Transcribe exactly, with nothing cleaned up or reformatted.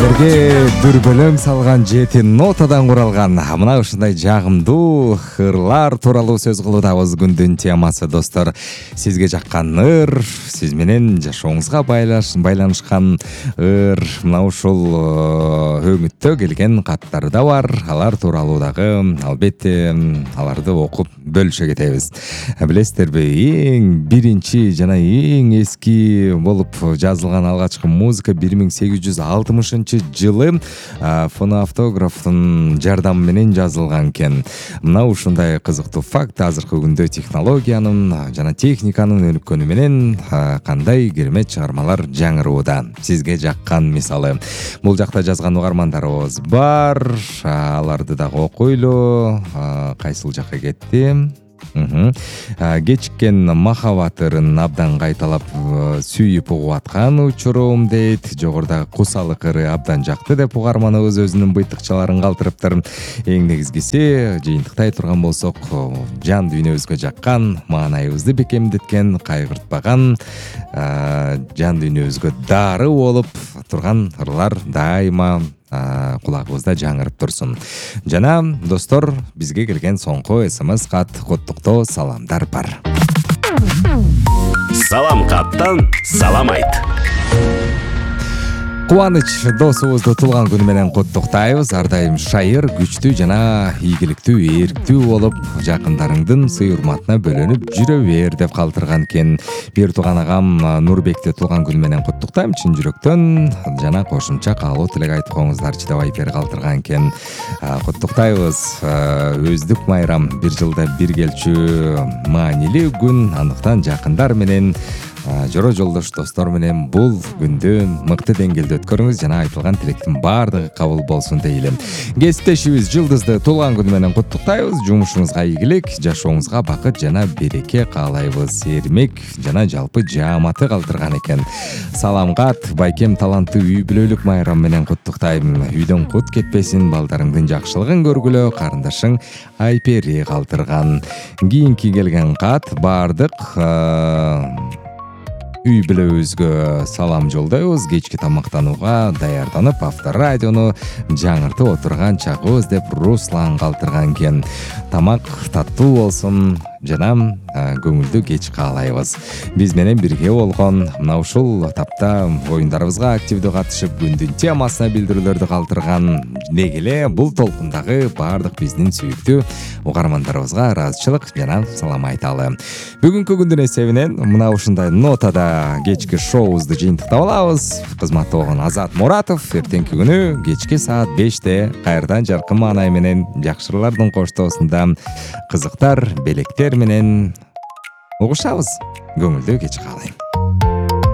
сиздерге дүрбөлөм салган жети нотадан куралган мына ушундай жагымдуу ырлар тууралуу сөз кылуудабыз. Күндүн темасы достор, сизге жаккан ыр, сиз менен жашооңузга байланышкан ыр. Мына ушул өңүттө келген каттар да бар. Алар тууралуу дагы албетте аларды окуп бөлүшө кетебиз. Билесиздерби, эң биринчи жана эң эски болуп жазылган алгачкы музыка бир миң сегиз жүз алтымышынчы жылы фоноавтографтын жардамы менен жазылган экен. Мына ушундай кызыктуу факт азыркы күндө технологиянын жана техниканын өнүккөнү менен кандай керемет чыгармалар жаңырууда. Сизге жаккан мисалы бул жакта жазган угармандарыбыз бар. Аларды дагы окуйлу. Кайсыл жакка кетти? Кечиккен махабат ырын абдан кайталап сүйүп угуп аткан учурум дейт. Жогорудагы кусалык ыры абдан жакты деп угарманыбыз өзүнүн быйтыкчаларын калтырыптыр. Эң негизгиси жыйынтыктай турган болсок, жан дүйнөбүзгө жаккан, маанайыбызды бекемдеткен, кайгыртпаган, жан дүйнөбүзгө дары болуп турган ырлар дайыма кулагыбызда жаңырып турсун. Жана достор, бизге келген соңку смс кат, коттуктоо саламдар бар. Салам каттан салам айт. Кубаныч досубузду туулган күнү менен коттуктайбыз. Ар дайым шайыр, күчтүү жана ийгиликтүү, эрктүү болуп, жакындарыңдын сый урматына бөлөнүп жүрө бер деп калтырган экен. Бир тууган агам Нурбекти туулган күнү менен коттуктайм чын жүрөктөн, жана кошумча каалоо тилек айтып коюңуздарчы деп айпер калтырган экен. Коттуктайбыз. Өздүк майрам бир жылда бир келчү маанилүү күн. Андыктан жакындар менен, жора жолдош достор менен бул күндү мыкты деңгээлде өткөрүңүз жана айтылган тилектин баардыгы кабыл болсун дейлим. Кесиптешибиз Жылдызды туулган күнү менен куттуктайбыз. Жумушуңузга ийгилик, жашооңузга бакыт жана береке каалайбыз. Эрмек жана жалпы жааматы калтырган экен. Салам кат, байкем таланттуу үй бүлөлүк майрам менен куттуктайм. Үйдөн кут кетпесин, балдарыңдын жакшылыгын көргүлө, карындашың Айпери калтырган. Кийинки келген кат баардык үй бүлөбүзгө салам жолдойбуз. Кечки тамактанууга даярданып, авторадиону жаңыртып отурган чагыбыз деп Руслан калтырган экен. Тамак таттуу болсун жана көңүлдүү кеч каалайбыз. Биз менен бирге болгон мына ушул тапта оюндарыбызга активдүү катышып, күндүн темасына билдирүүлөрдү калтырган дегеле бул толкундагы баардык биздин сүйүктүү угармандарыбызга ыраазычылык жана салам айталы. Бүгүнкү күндүн эсебинен мына ушундай нотада кечки шоубузду жыйынтыктап алабыз. Кызматта болгон Азат Муратов эртеңки күнү кечки саат беште кайрадан жаркын маанай менен жакшырлардын коштоосунда кызыктар, белектер менен угушабыз. Көңүлдүү кеч каалайм.